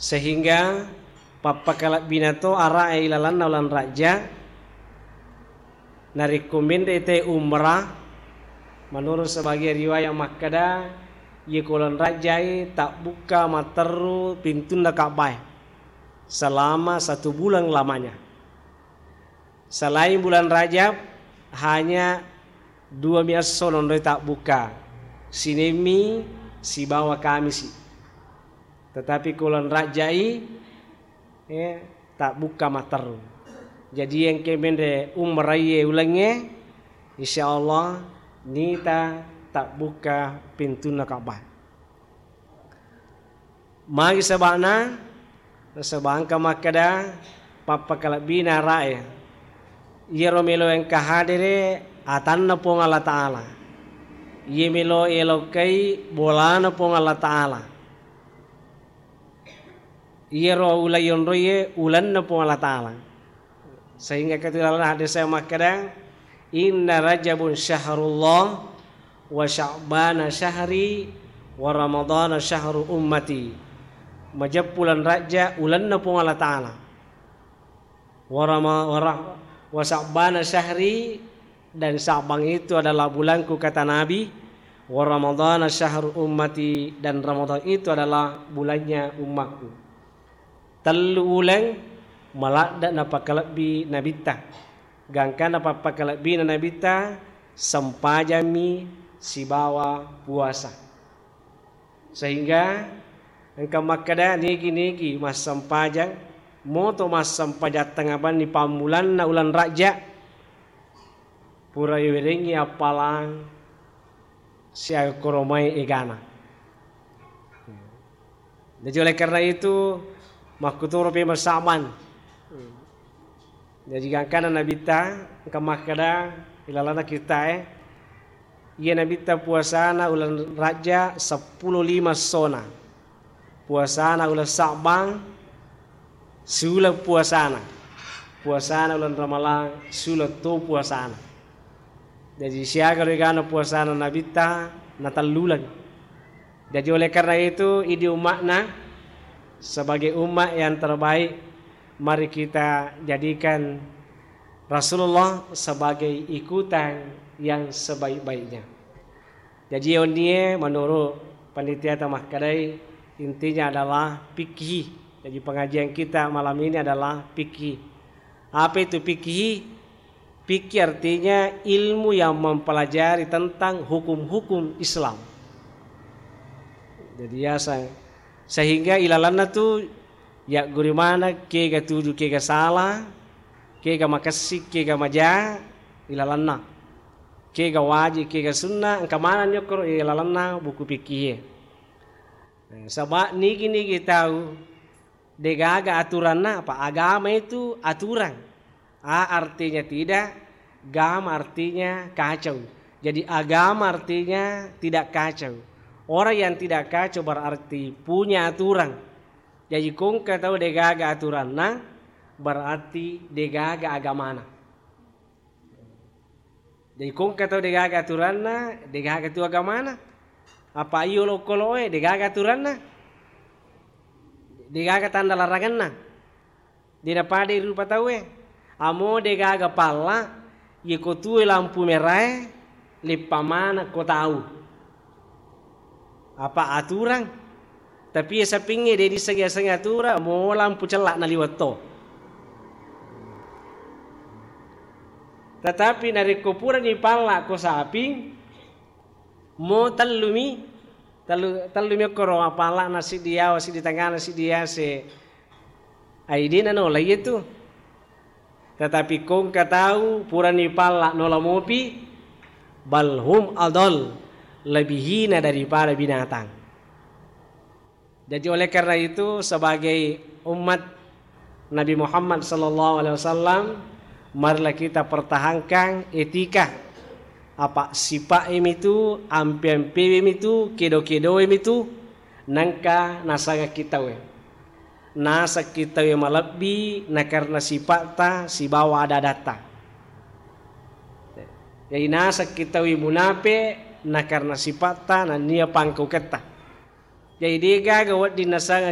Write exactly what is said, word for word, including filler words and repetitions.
Sehingga pappakalebbina to ara'e ilalanna uleng Rajja, narekko menre te umrah, menurut sebagian riwayat makkeda, iye ko uleng Rajjai tabbukka matteru pintunna Ka'bae selama satu bulan lamanya. Selain bulan Rajab, hanya dua mi esso nonroi tabbukka, Sinemmi sibawa Kamisi. Tetapi ko uleng Rajjai, eh, tabbukka matteru. Jadi engke menre umraiye ulengnge, insya Allah nita tabbukka pintunna Ka'bah. Magi saba'na? Nasaba engka makkeda pappakalebbina ara'e. Iyaro melo engka hadere atanna Puang Allah Ta'ala. Iye melo elokkai bolana Puang Allah Ta'ala. Iyaro ulai yonroiye ulenna Puang Allah Ta'ala. Sehingga ketu ilalenna hadis e makkeda, "Inna Rajabun syahrullah, wa Sya'bana syahri, wa Ramadana syahru ummati." Majeppu uleng Rajja ulenna Puang Allah Ta'ala. Wa Rama-, wa Rah-, wa Sya'bana syahri, dan Sya'ban itu adalah bulanku, kata Nabi. Wa Ramadana syahru ummati, dan Ramadan itu adalah bulannya ummakku. Tellu uleng maladde napakalebbi Nabitta. Gangkanna pappakalebbina Nabitta, sempajammi sibawa puasa. Sehingga engka makkeda, nigi-nigi massempajang, moto massempajang tengnga benni pammulanna uleng Rajja, pura iwerengngi appalang siaga koromai egana. Jadi oleh karena itu, makkutoro pi massa'ban. Jadi gangkanna Nabitta engka makkeda ilalanna kitta e, iya Nabitta puasana uleng Rajja seppulo lima essona. Puasana uleng Sa'ban siuleng puasana. Puasana uleng Ramalang siuleng to puasana. Jadi siaga ro egana puasana Nabitta na telluleng. Jadi oleh karena itu, idi umma'na sebagai umat yang terbaik, mari kita jadikan Rasulullah sebagai ikutan yang sebaik-baiknya. Jadi, onnie menurut panitia tamakkedai, intinya adalah fikih. Jadi, pengajian kita malam ini adalah fikih. Apa itu fikih? Fikih artinya ilmu yang mempelajari tentang hukum-hukum Islam. Jadi, ya, sa-, sehingga ilalanna tu yagguri maneng, kega tuju, kega sala, kega makessing, kega maja, ilalanna. Kega wajib, kega sunnah, engka manenni okkoro ilalanna buku fikih e. Saba' nigi-nigi tau degaga aturanna, apa agama itu aturan. A artinya tidak, gam artinya kacau. Jadi agama artinya tidak kacau. Orang yang tidak kacau berarti punya aturan. Jadi kongka tau degaga aturanna, berarti degaga agamana. Jadi kongka tau degaga aturanna, degaga tu agamana. Apa iyo olokoloe, degaga aturanna. Degaga tanda laranganna. Dena pada rupa tauwe. Amo degaga palla, yeko tuwe lampu merae, leppa maneng ko tau. Apa aturang? Tapi iya sapingnge de' diseng-yaseng aturang, mo lampu cella' naliweng to. Tetapi narekko purani palla ko saping, mo tellumi, tellu, tellumi okkoro palla'na siddi yawa, siddi tangngana, siddi yase. Aidina nola iyetu. Tetapi kongka tau purani palla nola mopi, bal hum adal, lebih hina daripada binatang. Jadi oleh karena itu, sebagai umat Nabi Muhammad sallallahu alaihi wasallam, marilah kita pertahankan etika. Apa sipa'e mitu, ampe-ampewe mitu, kedo-kedoe mitu, nengka nasangakki tauwe. Nasakki tauwe malebbi nakarena sipa'ta sibawa ada-adatta. Jadi nasakki tauwe munape nakarena sipa'ta nennia pangkauketta. Jadi degaga wedding nasanga